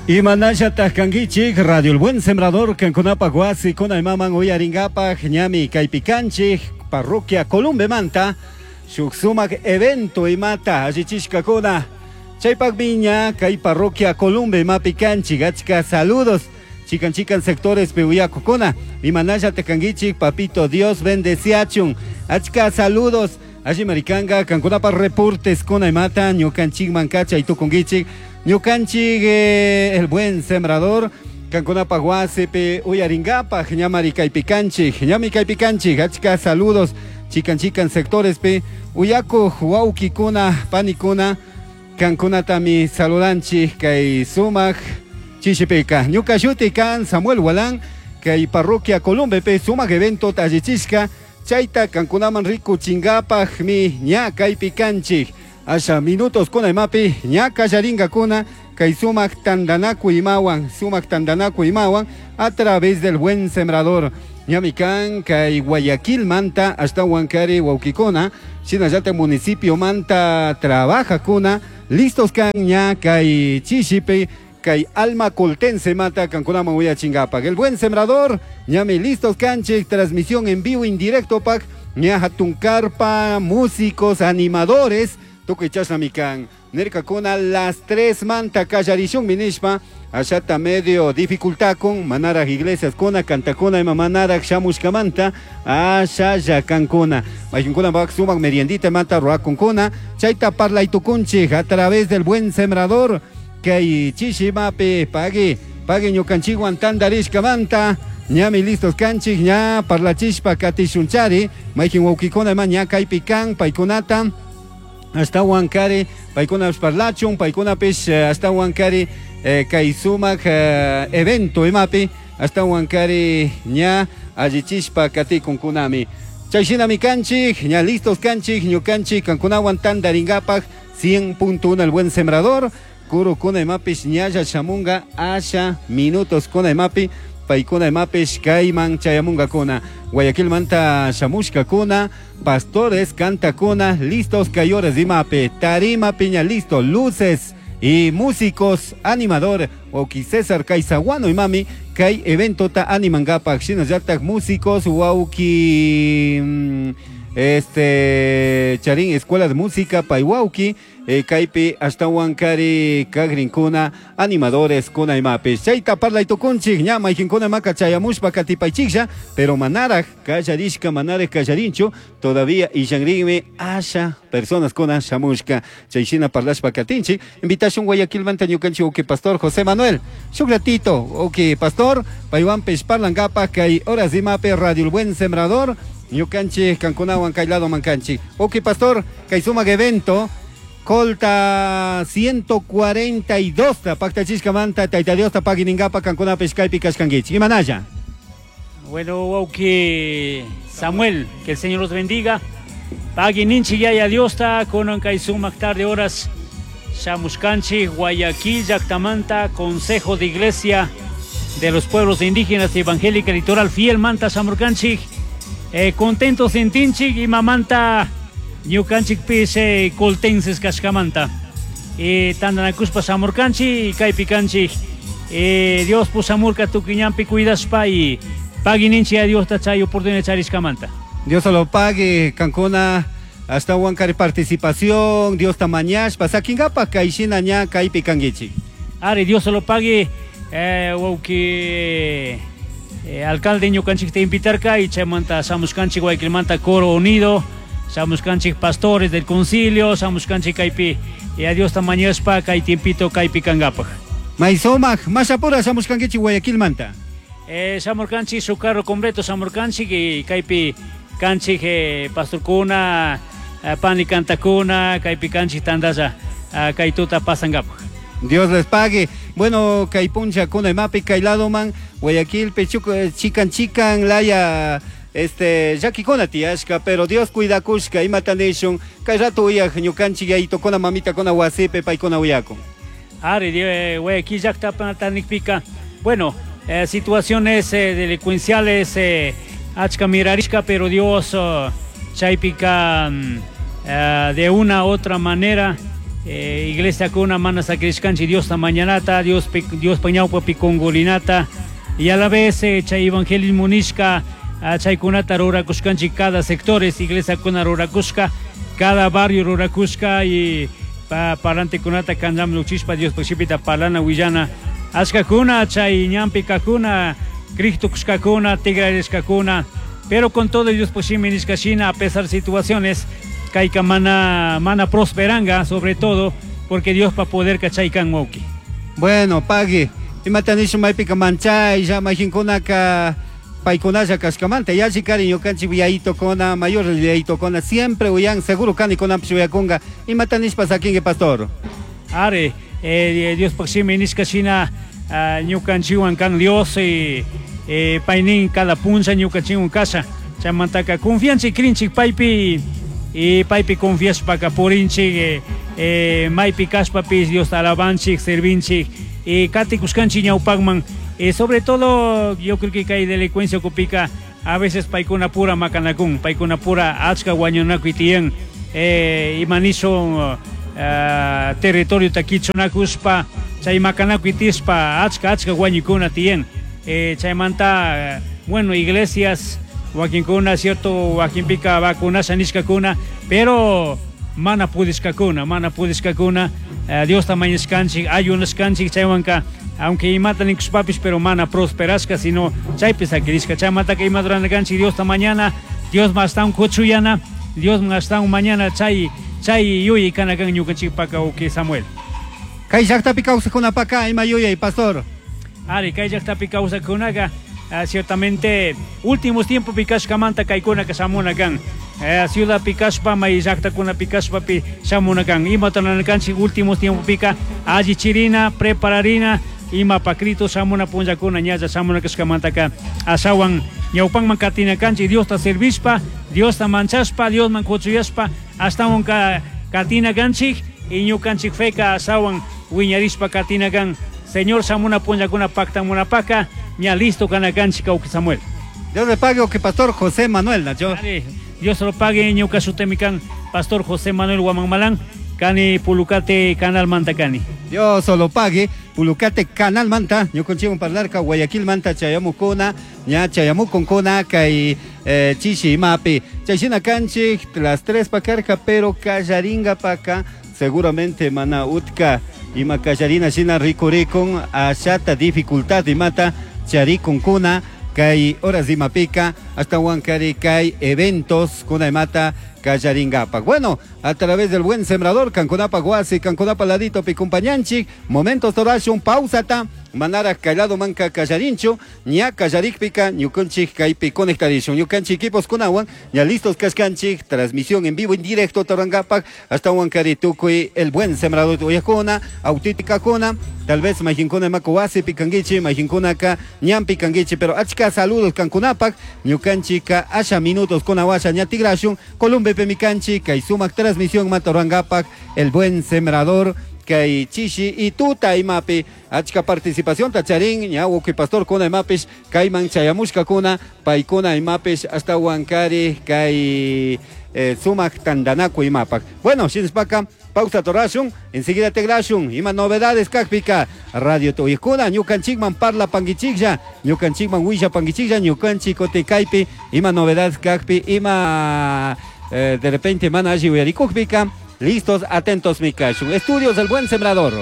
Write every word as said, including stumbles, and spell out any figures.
Imanallataq kankichik Radio El Buen Sembrador kankunapaq wasi kunaymaman uyaringapaq ñami kaypi kanchik parroquia Columbemanta shuk sumak evento imata allichishkakuna chaypaqmi ña kay parroquia Columbe imapi kanchik. Achka saludos chikan chikan sectores pi uyakukuna. Imanallataq kankichik? Papito Dios bendeciachun. Achka saludos alli maricanga kankunapaq reportes kuna imata ñukanchikman kachay tukunkichik. Ñukanchik eh, El Buen Sembrador kankunapaq wasipi uyaringapaq ñamari kaypi kanchik, ñami kaypi kanchik. Achka saludos chikan chikan sectores pi uyakuq wawkikuna, panikuna, kankunatami saludanchik kay sumak chishipika. Ñuka shuti kan Samuel Walán, kay parroquia Columbepi sumak evento allichishka chayta kankunaman rikuchinkapaqmi ña kaypi kanchik. Asha minutos kuna imapi ña kallarinkakuna kay sumak tantanakuy imawan, sumak tantanakuy imawan a través del Buen Sembrador. Ñami kan kay Guayaquil manta ashtawan kari wawkikuna, shinallata municipio manta trabajakuna, listos kan ña kay chishipi kay alma coltense mata kankunaman uyachingapak. El Buen Sembrador ñami listos kanchik, transmisión en vivo indirecto pak ña hatun carpa, músicos, animadores, tukuy chashnami kan. Nirkakuna las tres manta kallarishun minishpa, ashata medio dificultad con manaraj iglesias kuna cantakuna ima manaraj shamushkamanta ashalla kankuna maykinkuna bak sumak meriendita mata ruakunkuna chayta parlaytukunchik a través del Buen Sembrador kay chishimapi. Pagui pagui ñukanchikwan tantarishkamanta. Ñami listos kanchik ña parlachishpa katishunchari. Maykin wawkikuna ima ña kaypi kan, paykunata ashtawan kari paykunapish parlachun, paykunapish eh, ashtawan kari eh, kay sumak eh, evento imapi ashtawan kari ña allichishpa katikunkunami. Chayshinami kanchik, ña listos kanchik ñukanchik kankunawan tantaringapak. cien punto uno El Buen Sembrador. Kurukuna imapish ñalla shamunga asha minutos kuna imapi, paykuna imapish kayman chayamungakuna. Guayaquilmanta shamushkakuna, pastores, cantakuna, listos kayores imapi, tarima piña listo, luces y músicos, animador wawki César Kaisaguano imami kay eventota animangapak, shinallatak músicos wawki mm, este Charín Escuela de Música pay wawki eh, kaypi ashtawan kari kagrinkuna animadores kuna imapi chayta parlay tukunchik. Ña maykinkuna maka chayamushpa katipaychiklla, pero manaraj kallarishka, manaraj kallarinchu todavía, illanrinmi asha personas kuna shamushka. Chayshina parlashpa katinchik. Invitación Guayaquilmanta ñukanchik wawki pastor José Manuel shuk ratito, wawki pastor paywanpish parlankapaj kay horas imapi. Radio El Buen Sembrador ñukanchik kankunawan kay lado mankanchik. Wawki pastor, kay sumak evento Colta ciento cuarenta y dos ta paktachishkamanta Tayta Diosta pagui ninkapa kankunapish kaypi kashkankichik. Imanalla? Bueno, wawki Samuel, que el Señor los bendiga. Pagui ninchik Yaya Diosta, kunan kay sumak tarde horas shamushkanchik Guayaquil llaktamanta, Consejo de Iglesia de los Pueblos Indígenas Evangélica Litoral Fiel manta shamurkanchik. Eh, contentos sentinchik imamanta ñukanchikpish eh, coltenses kashkamanta. Eh, tantanakushpa shamurkanchik y kaypi kanchik. Eh, Dios pushamurka tukuy ñanpi cuidashpa y pagui ninchik a Diosta chay oportunidad charishkamanta. Dios se lo pague, kankuna ashtawan kari participación, Diosta mañashpa sakinkapa kayshina ña kaypi kankichik. Ari, Dios se lo pague, eh, wawki eh, alcalde ñukanchikta invitarka y chaymanta shamushkanchik Guayaquilmanta Coro Unido, shamushkanchik pastores del concilio, shamushkanchik kaypi y a Diosta mañashpa kay tiempito kaypi kankapaj. May sumak, mashapura shamushkankichik Guayaquilmanta? Eh, shamurkanchik su carro completo shamurkanchik y kaypi kanchik eh, pastorkuna, eh, pani kantakuna, kaypi kanchik tandalla eh, kay tuta pasankapaj. Dios les pague. Bueno, kay puncha kuna imapi kay ladoman Guayaquil chuc chikan chikan laya este llakikuna tiyashka, pero Dios cuidakushka. Imata nishun kay rato uyaj ñukanchik yayitukuna, mamitakuna wasipi paykuna uyakun? Ari, eh, Guayaquil llakta nikpika, bueno, eh, situaciones eh, delincuenciales eh, achka mirarishka, pero Dios oh, chaypika mm, eh, de una u otra manera Eh, iglesiakuna mana sakirishkanchik Diosta mañanata, Dios Diospa ñawpapi kungurinata y a la vez eh, chay evangelismo nishka ah, chaykunata rurakushkanchik cada sectores iglesiakuna rurakushka, cada barrio rurakushka y pa parlantekunata kanllaman llukchishpa Diospa shimita parlana willana achkakuna chay ñanpi kajkuna Cristo kushkakuna tigrarishkakuna, pero con todo Diospa shimi nishka shina a pesar de situaciones kayka mana mana prosperanga, sobre todo porque Diospa poderka chay kan, wawki. Bueno, pagui. Imata nishun maypika manchaylla mayqinkunaka paykunalla kashkamanta yalli kari ñukanchik yayitokuna mayor yayitokuna siempre uyan seguro kani kunanpish uyakunga imata nishpa sakinki, pastor. Ari, eh, Diospa shimi nishka shina uh, ñukanchikwan kan Dios y eh, paynin cada puncha ñukanchikwan kasha chaymantaka confianchik crinchik paypi y paypi confiashpaka purinchik eh, eh, maypi kashpapish Diosta alabanchik servinchik y katikushkanchik ñawpakman. Eh, sobre todo yo creo que kay delincuencia ukupika a veces paykuna pura makanakun, paykuna pura achka wañunakuy tiyan eh, ima nishun uh, territoriota kichunakushpa chay makanakuy tishpa achka achka wañuykuna tiyan eh, chaymanta bueno, iglesias wakinkuna cierto wakinpika vacunasha nishkakuna pero mana pudishkakuna mana pudishkakuna uh, Diosta mañashkanchik ayunashkanchik chaywanka aunque imata nikushpapish pero mana prosperashka sino chaypi sakirishka. Chaymantaka ima ruranakanchik Diosta mañana, Dios ashtawan kuchuyana, Dios ashtawan mañana chay chay yuyay kana kan ñukanchikpaka, wawki Samuel. Kay llaqtapi kawsaqkunapaka ima yuyay, pastor. Ari, kay llaqtapi kawsaqkunaka uh, ciertamente últimos tiempos kashkamanta kaykunaka shamuna kan eh, ciudadpi kashpa may llaqtakunapi kashpapi shamuna kan imata kanchik últimos tiempopika allichirina prepararina ima Cristo shamuna punllakuna ñalla shamuna kashkamantaka ashawan ñawpanman katina kanchik Diosta servishpa, Diosta manchashpa, Diosman kuchuyashpa ashtawan ka katina kanchik y ñukanchik feka ashawan wiñarishpa katina kan Señor shamuna punllakuna paktamunapaka ña listo kana kanchik, wawki Samuel. Dios le pague, que pastor José Manuel, Nacho. Dios lo pague, ñuka shutimi kan pastor José Manuel Guamán kani Pulucate Canal Manta kani. Dios lo pague, Pulucate Canal Manta, ñukanchikwan parlarka Guayaquil manta chayamukuna, ña chayamukunkuna kay eh, chishi imapi. Chayshina kanchik las tres pakarka, pero kallaringa paka seguramente mana utka ima kallarina shina rikurikun ashata dificultad imata charikunkuna kay horas imapika hasta kari kay eventos kuna imata kallaringapak. Bueno, a través del Buen Sembrador, kankunapa wasi, kankunapa ladito pi kumpañanchik, momentos torashun pausata, manara kallado manka kallarinchu, ña kallarikpika ñukanchik kaypi conectarishun, ñukanchik equipos kunawan, ña listos kashkanchik, transmisión en vivo en directo torangapak, hasta kari tukuy el Buen Sembrador uyakuna, auténtica kuna, tal vez mayqinkuna mako wasi pikankichi, mayqinkunaka ñanpi kankichi, pero achka saludos kankunapak, ñukanchika asha minutos kunawasha ña tigrashun, Columbe pemikanchi, kay sumak transmisión matorangapak, el Buen Sembrador, kay chishi y tuta imapi achka participación tacharin ña wawki pastor kuna imapish kayman chayamushkakuna paykuna imapish hasta wankari kay eh, sumak tandanaku imapak. Bueno, shinashpaka pausa torashun, enseguida tigrashun ima novedades kakpika radio tuyikuna ñukanchikman parla pangichiklla ñukanchikman willa pangichiklla ñukanchik kutin kaypi ima novedades kakpi ima eh, de repente mana alli uyarikukpika listos, atentos mi kashun. Estudios del Buen Sembrador.